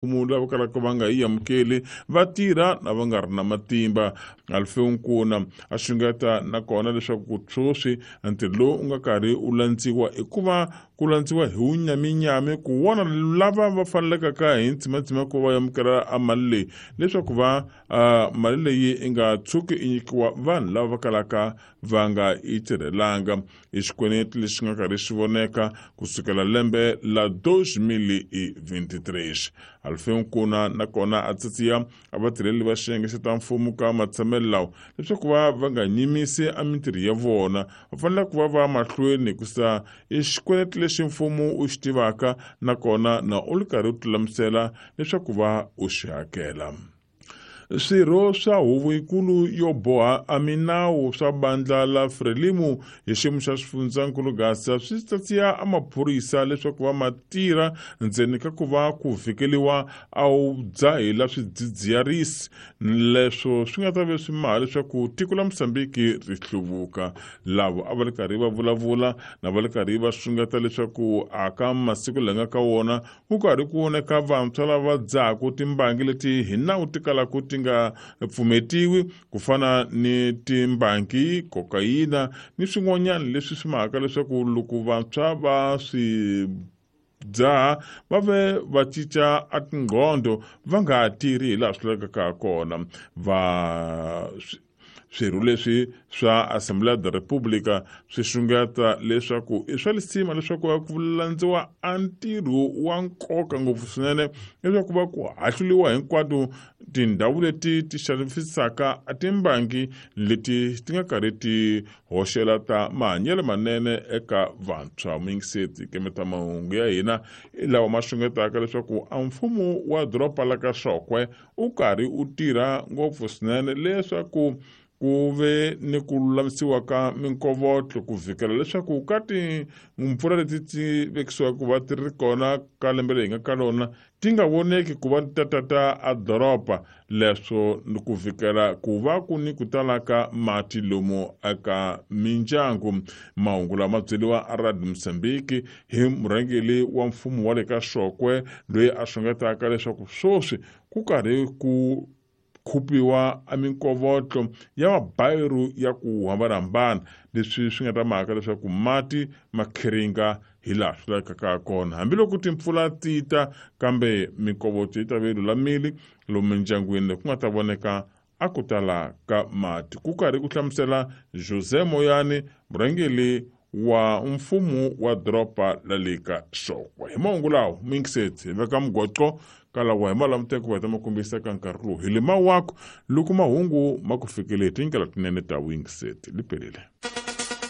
Mfumo lava kalaka va nga yi amukeli va tirha na va nga ri na matimba. Alfeu Nkuna a xungeta nakona leswaku sweswi ntirho lowu u nga karhi u landziwa i ku va ku landziwa hi wunyaminyami ku vona lava va fanelekaka hi ntsimatsima ku va amukela a mali leyi, leswaku va mali leyi i nga tshuki i nyikiwa vanhu lava va kalaka va nga yi tirhelanga. I xikweleti lexi nga karhi xi voneka kusukela lembe la 2023. Alfeu Nkuna nakona a tsatsiya a vatirheli va xiyenge xa ta mfumo ka matshamelo lawa leswaku va va nga nyimisi a mintirho ya vona, va fanele ku va va mahlweni hikusa i xikweleti lexi mfumo u xi tivaka nakona na u ri karhi u tilulamisela leswaku va u xi hakela. Swirho swa huvo yikulu yo boha a minawu swa bandla la Frelimo hi xiyimo xa xifundzankulu Gasa swi tsatsiya a maphorisa leswaku va ma tirha ndzeni ka ku va ku vhikeliwa a wu dzahi la swidzidziharisi leswo swi nga ta ve swi maha leswaku tiko la Mosambiki ri hluvuka. Lavo a va ri karhi va vulavula na va ri karhi va xungeta leswaku a ka masiku la nga ka wona ku karhi ku voneka vantshwa lava dzahaku timbangi leti hi nawu ti kalaka ti nga pfumetiwi ku fana ni timbangi, kokayina ni swin'wanyana leswi swi mahaka leswaku loko vantshwa va swi dzaha va ve va cinca a tinqondo va nga ha tirhi hi laha swi lavekaka kona. Va swirho leswi swa Assembleia da República swi xungeta leswaku i swa lisima leswaku va ku landziwa a ntirho wa nkoka ngopfu swinene leswaku va ku hahluliwa hinkwato tindhawu leti ti xavisaka timbangi leti ti nga karhi ti hoxela ta mahanyelo manene eka vantshwa. Muyingiseti kemeta mahungu ya hina i lawa ma xungetaka leswaku a mfumo wa doroba la ka Xokwe u karhi u tirha ngopfu swinene leswaku ku ve ni ku lulamisiwa ka minkovotlo ku vhikela leswaku ka timpfula leti ti vekisiwaka ku va ti ri kona ka lembe leyi nga ka lona ti nga voneki ku va ti tata a doroba, leswo ni ku vhikela ku va ku ni ku tala ka mati lomu eka mindyangu. Mahungu lama byeriwa a Radio Mozambique hi murhangeri wa mfumo wa le ka Xokwe loyi a xungetaka leswaku sweswi ku karhi ku khupiwa a minkovotlo ya mabayiru ya ku hambanahambana, leswi swi nga ta mhaka leswaku mati ma khiringa hi laha swi lavekaka kona hambiloko timpfula ti ta, kambe minkovotlo yi ta ve yi lulamile lomu mindyangwini ku nga ta voneka a ku tala ka mati. Ku karhi ku hlamusela José Moyani, murhangeri wa mfumo wa doroba la le ka Xokwe. Hi mahungu lawa muyingiseti hi veka mugwaco kalawa hi malamuteko va ta ma kombisa ka nkarhi lowu hi le mawako loko mahungu ma ku fikele hi tindlela tinene ta vuyingiseti. Li pelile.